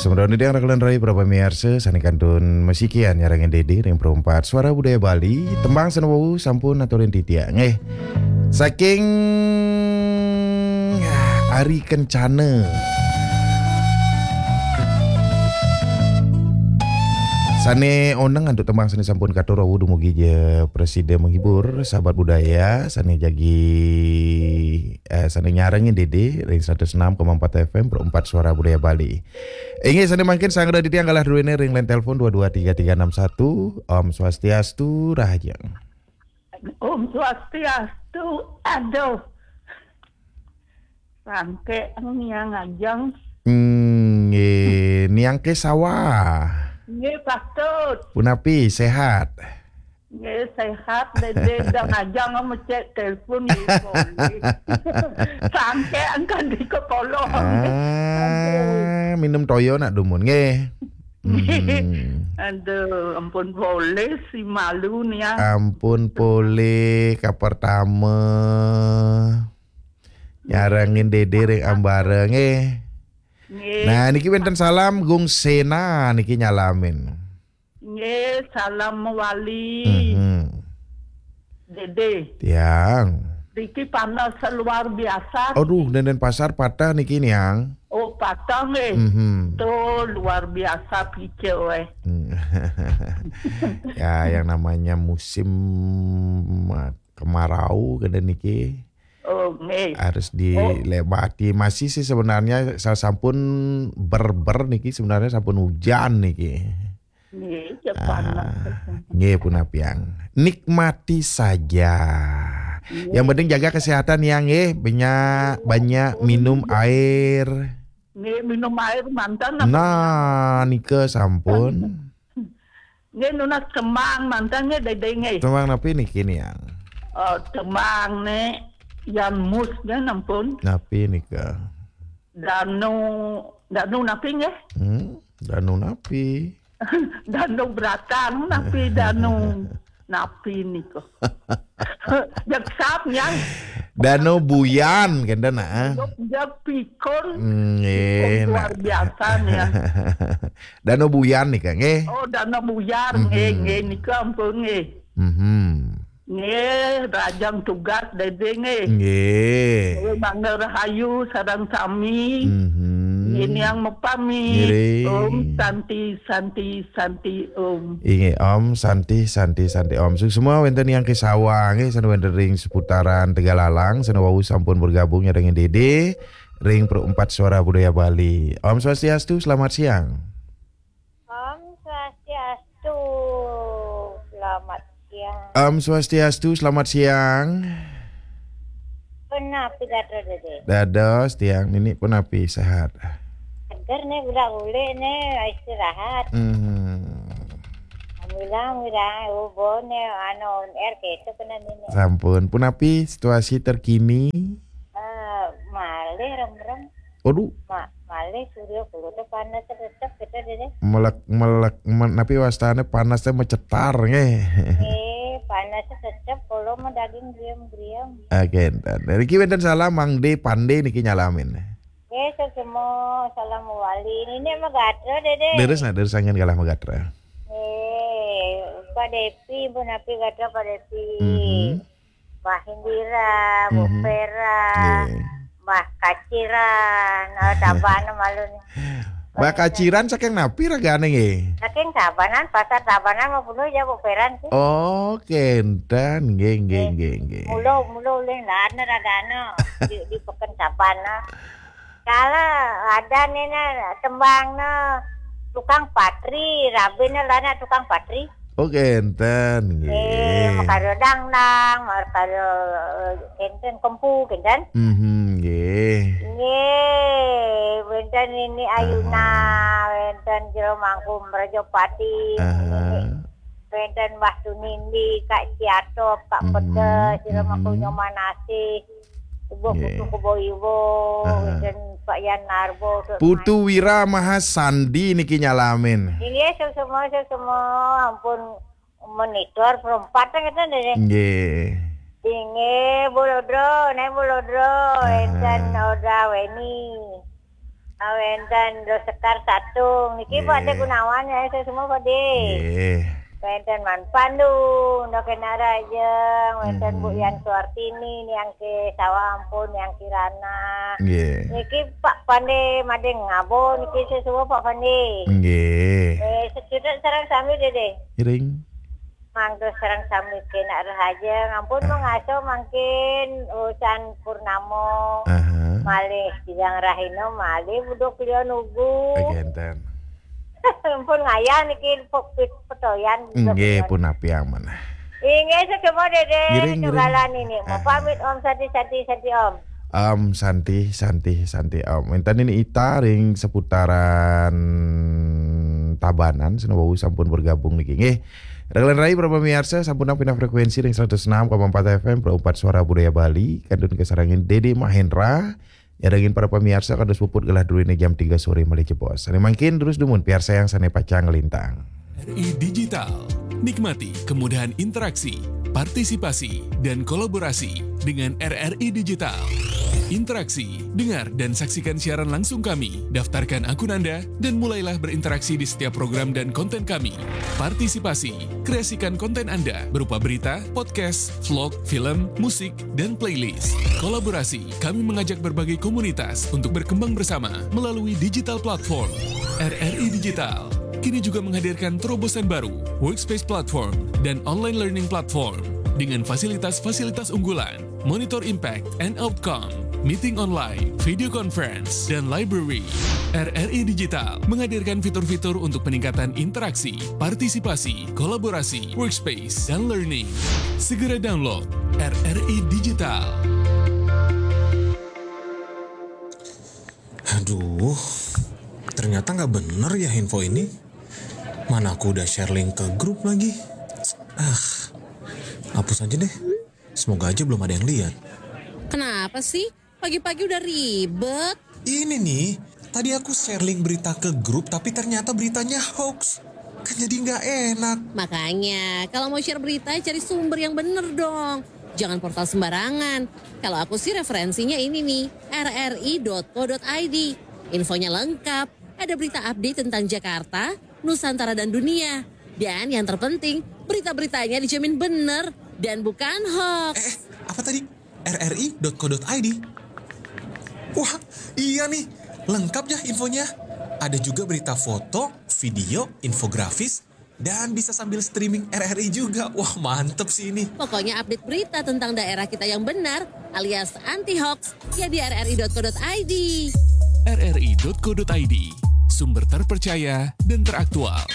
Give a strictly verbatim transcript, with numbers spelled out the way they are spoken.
Sampun dadi yang raglan rai para pamiarsa sané kantun masikian nyarengin Dédé ring Perempat Suara Budaya Bali, tembang sané wau sampun aturin titiang. Nggih. Saking Ari Kencana. Sané oneng antuk tembang sané sampun katur wau dumugi ja prasida menghibur sahabat budaya sané jagi, eh, sané nyarengin Dédé ring seratus enam koma empat F M Perempat Suara Budaya Bali. Inggih, sané mangkin sang dadi tiang galah druéné ring line telepon dua dua tiga tiga enam satu. Om Swastiastu, rahajeng. Om Swastiastu. Aduh. Rangké niang ajeng. Hmm, nggih, niang ké sawah. Nggih, patut. Punapi, sehat? Nggih, sehat, Dédé, dang ajang mecek telepon, nggih, boleh. Sangke angkat di kepala. Ah, minum toyo nak dumun, nggih. Hmm. Aduh, ampun boleh si malu nih ya. Ampun boleh, kapertama. Nyarengin Dédé ring ambara, nggih. Nggih. Nah, niki wénten salam Gung Sena niki nyalamin. Nggih, salam mawali. Mhm. Dédé. Tiang. Niki panas luar biasa. Aduh, Dédé Pasar patah niki, Niang. Oh, patah nggih. Mhm. Tuh, luar biasa pice wéh. Hmm. Ya, yang namanya musim, eh, kemarau kena niki. Oh, nggih. Harus dilewati. Masih sih sebenarnya sa-, sampun ber-ber niki, sebenarnya sampun hujan niki. Nggih, ya panas. Ah, nggih, punapi, Yang. Nikmati saja. Nggih. Yang penting jaga kesehatan, Yang, nggih. Banyak, banyak minum air. Nggih, minum air mantan apa? Nah, nika sampun. Nggih, nunas tembang mantan nggih, Dédé nggih. Tembang napi niki, Niang? Oh, tembang né Yan Mus nggih, ampun. Napi nika? Danu, danu napi nggih? Hmm, danu napi? Danu Bratan napi danu napi nika? Jak sap, Niang. Danu Buyan, kénten, ah. Jak, jak pikun. Nggih, pikun luar biasa, Niang. Danu Buyan nika, nggih. Oh, Danu Buyar, nggih, mhm, nggih, nika ampun, nggih. Mhm. Nggih, rahajeng tugas, Dédé, nggih. Nggih. Nggih, mangda rahayu sareng sami. Mhm. Nggih, Niang mapamit. Nggih. Om Santi, Santi, Santi, Om. Inggih, Om Santi, Santi, Santi, Om. Suksma wénten Niang Kesawa, nggih, sané wénten ring seputaran Tegalalang, sané wau sampun bergabung nyarengin Dédé ring Perempat Suara Budaya Bali. Om Swastiastu, selamat siang. Om Swastiastu, selamat siang. Om Swastiastu, selamat siang. Punapi gatra, Dédé? Dados, Tiang, niki punapi, sehat? Seger né, budak ulik né, istirahat. Hmm. Bilang, bilang, ubo né, anu, on air kéto kena nini. Sampun, punapi situasi terkini? Eh, malih remrem. Aduh. Ma-, malih surya kulo téh panas tetep kita, Dédé. Melek, melek, men-, napi wastané panas téh mecetar, nggih. Eh, panas tetep, kulo mah daging griem-griem. Oke, enten. Niki wénten salam, Mang D Pande niki nyalamin. Nggih, suksma, salam mawali. Nini mah gatra, Dédé. Leres, nah, leres, anggen galah magatra. Eh, Pak Depi, punapi gatra, Pak Depi. Mhm. Mbah Indira, Bu, mhm, Vera, nggih. Mbah Kaciran, oh, Tabanan malu nih. Mbah Kaciran saking napi ragané nggih? Saking Tabanan, pasar Tabanan mah penuh ya, Bu, Vera sih. Oh, kénten, nggih, nggih, eh, nggih, nggih. Mula, mula ulih lana ragané di, di peken Tabanan. Kala ada nih, nah, tembang, nah, tukang patri, rabiné lana tukang patri. Oh, kénten, nggih. Eh, makarya dangdang, makarya, eh, kénten kempu, kénten. Mhm, nggih. Nggih, wénten nini Ayuna, aha, wénten Jero Mangku Mrajapati. Aha. Wénten Mbah Tunindi, Kak Ciatop, Kak, mhm, Pedes, Jero Mangku, mhm, Nyoman Asih. Ibu, nggih. Putu Kebo Iwo, aha, wénten Pak Yan Narbo, Putu Wira Maha Sandi niki nyalamin. Inggih, suksma, suksma, ampun monitor perempatan kita deh. Nggih. Inggih, Bu Lodro, Néng Bu Lodro, aha, wénten Oda Weni. Ah, wénten Dosekar Satung. Niki Pak Dé Gunawan ya, saya semua Pak Dé. Nggih. Wénten Man Pandu, Ndoken Arajeng, wénten Bu Yan Suartini, Niang Ke Sawa Ampun, Niang Kirana. Nggih. Niki Pak Pandé Madeng Ngabo, niki saya semua Pak Pandé. Nggih. Eh, sejuta sareng sami Dédé. Iring. Mangga sareng sami kena rahaja. Ngampun mengasuh mangkin urusan purnamo. Aha. Malih Jang Rahino, malih buduk liya nugu. Genten. Ampun ngayah niki pok-, petoyan. Nggih, pun api aman. Inggih, sedema Dédé. Ngiring, ngiring. Tunggalan ini. Mau pamit, Om Santi, Santi, Santi, Om. Om Santi, Santi, Santi, Om. Intan ini Ita ring seputaran Tabanan, seneng wau sampun bergabung niki. Nggih. Raglan rai para pamiarsa, sampun pindah frekuensi ring seratus enam koma empat F M, Pro empat Suara Budaya Bali, kantun kasarengin Dédé Mahendra, nyarengin para pamiarsa kados puput gelah druene jam tiga sore malih jebos. Sane mangkin terus dumun piarsayang sane pacang nglintang. R I Digital. Nikmati kemudahan interaksi, partisipasi, dan kolaborasi dengan R R I Digital. Interaksi, dengar dan saksikan siaran langsung kami, daftarkan akun Anda, dan mulailah berinteraksi di setiap program dan konten kami. Partisipasi, kreasikan konten Anda berupa berita, podcast, vlog, film, musik, dan playlist. Kolaborasi, kami mengajak berbagai komunitas untuk berkembang bersama melalui digital platform. R R I Digital kini juga menghadirkan terobosan baru, Workspace Platform dan Online Learning Platform dengan fasilitas-fasilitas unggulan, monitor impact and outcome, meeting online, video conference, dan library. R R I Digital menghadirkan fitur-fitur untuk peningkatan interaksi, partisipasi, kolaborasi, workspace, dan learning. Segera download R R I Digital. Aduh, ternyata nggak bener ya info ini. Mana aku udah share link ke grup lagi. Ah, hapus aja deh. Semoga aja belum ada yang lihat. Kenapa sih? Pagi-pagi udah ribet. Ini nih, tadi aku share link berita ke grup, tapi ternyata beritanya hoax. Kan jadi nggak enak. Makanya, kalau mau share berita, cari sumber yang bener dong. Jangan portal sembarangan. Kalau aku sih referensinya ini nih, R R I dot co dot I D. Infonya lengkap, ada berita update tentang Jakarta, Nusantara, dan dunia. Dan yang terpenting, berita-beritanya dijamin bener dan bukan hoax. Eh, eh, apa tadi? R R I dot co dot I D. Wah, iya nih, lengkap ya infonya. Ada juga berita foto, video, infografis, dan bisa sambil streaming R R I juga. Wah, mantep sih ini. Pokoknya update berita tentang daerah kita yang benar alias anti hoax ya di R R I dot co dot I D. R R I dot co dot I D, sumber terpercaya dan teraktual.